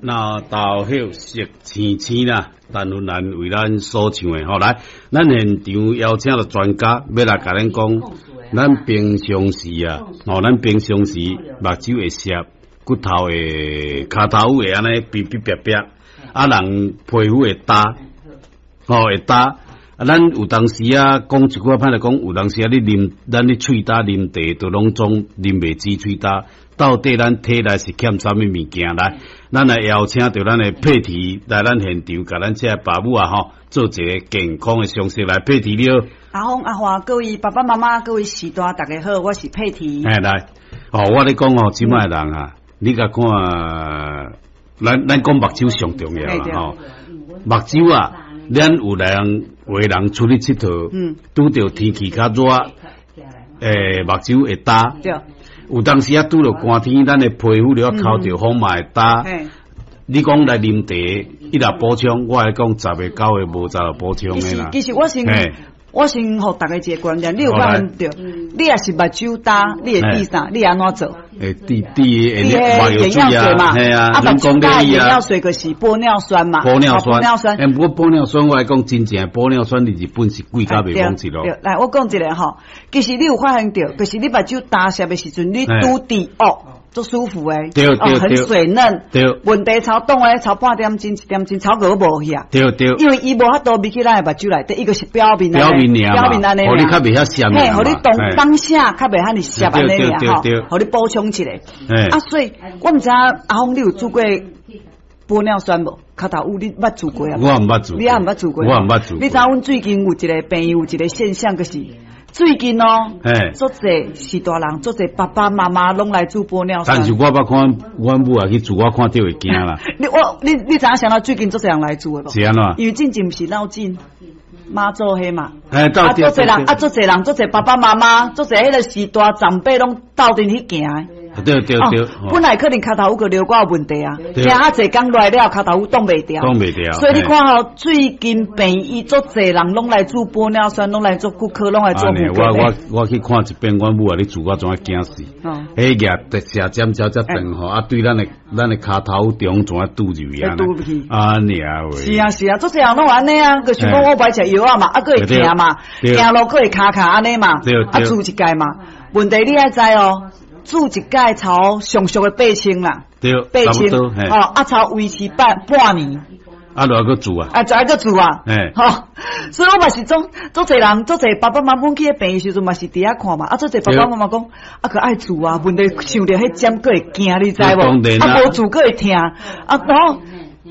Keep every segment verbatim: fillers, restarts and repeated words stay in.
那豆葉色青青啦，陳芬蘭為咱所唱的吼，來，咱現場邀請著專家欲來共咱講，咱平常時啊，吼，咱平常時目睭會澀，骨頭會跤頭會按呢嗶嗶癟癟，啊，人皮膚會焦，吼會焦。啊，咱有當時啊，講一句話歹來講，有當時啊，你啉，咱咧喙焦啉茶，都攏總啉袂止喙焦。到底咱體內是欠啥物物件？來，咱來邀請著咱的佩提來咱現場，共咱這个爸母啊吼，做一个健康的常識。來，佩提你好。阿峰阿華，各位爸爸媽媽，各位序大，大家好，我是佩提。哎，來，哦，我咧講哦，這擺的人啊，你共看，咱咱講目睭上重要啦吼，目睭啊，咱有人有的人出去𨑨迌，嗯，拄著天氣較熱，欸，目睭會焦。對。有當時啊，拄著寒天，咱的皮膚著較摳著風嘛會焦。你講來啉茶，伊若補充，我來講十个九个無十個補充的啦。其實我先我先予大家一个觀念，你有發現著？你若是目睭焦，你會滴啥？你按怎做？會滴滴眼藥水嘛？嘿啊，啊，目睭焦眼藥水就是玻尿酸嘛。玻尿酸，玻尿酸。欸，不過玻尿酸我來講，真正玻尿酸佇日本是貴甲袂講一囉。對，來，我講一个吼，其實你有發現著，就是你目睭焦澀的時陣，你拄滴哦，足舒服的，對對很水嫩。對，問題超凍的，超半點鐘一點鐘，超閣無去啊。對對，因為伊無法度入去咱的目睭內底，伊個是表面表面爾表面按呢，予你較袂遐澀。嘿，予你當當下較袂遐爾澀按呢爾吼，予你補充一下。啊，所以我毋知阿峰你有注過玻尿酸無？跤頭有你捌注過啊？我毋捌注，你也毋捌注過？我毋捌注。你知影阮最近有一个朋友有一个現象，就是最近哦，足濟序大人，足濟爸爸媽媽攏來注玻尿酸。但是我捌看阮母也去注，我看著會驚啦。你我你你知影啥物最近足濟人來注的無？是按怎？因為進前毋是鬧進媽祖彼嘛。啊，足濟人啊，足濟人，足濟爸爸媽媽，足濟彼個序大長輩攏鬥陣去行。對對對，本來可能跤頭有個尿管有問題啊，行啊濟工來了，跤頭有擋袂牢。擋袂牢。所以你看吼，最近病院足濟人攏來注玻尿酸，攏來做骨科，攏來做婦科。我我我去看一遍，阮母啊，咧注我怎啊驚死？彼額特寫針針遮長吼，啊對咱的咱的跤頭中怎啊拄入去啊？拄入去。啊爾話。是啊是啊，足濟人攏按呢啊，就想講我愛食藥仔嘛，啊閣會疼嘛，行路閣會卡卡按呢嘛，啊注一擺嘛。問題你愛知哦。注一擺超上俗的八千啦，對，八千，哦，啊，超維持半半年，啊，著愛閣注啊，啊，就愛閣注啊，吼，所以我嘛是總足濟人，足濟爸爸媽媽去彼病院時陣嘛是佇遐看嘛，啊，足濟爸爸媽媽講，啊，閣愛注啊，問題想著彼針閣會驚，你知無？啊，無注閣會疼，啊，然後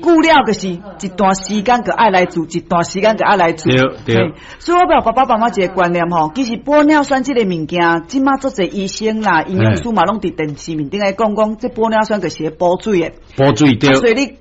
久了就是一段時間閣愛來注，一段時間閣愛來注。對對。所以我予爸爸媽媽一個觀念吼，其實玻尿酸這个物件，這馬足濟醫生啦、營養師嘛，攏佇電視面頂來講講，這玻尿酸就是咧補水的。補水對。所以你。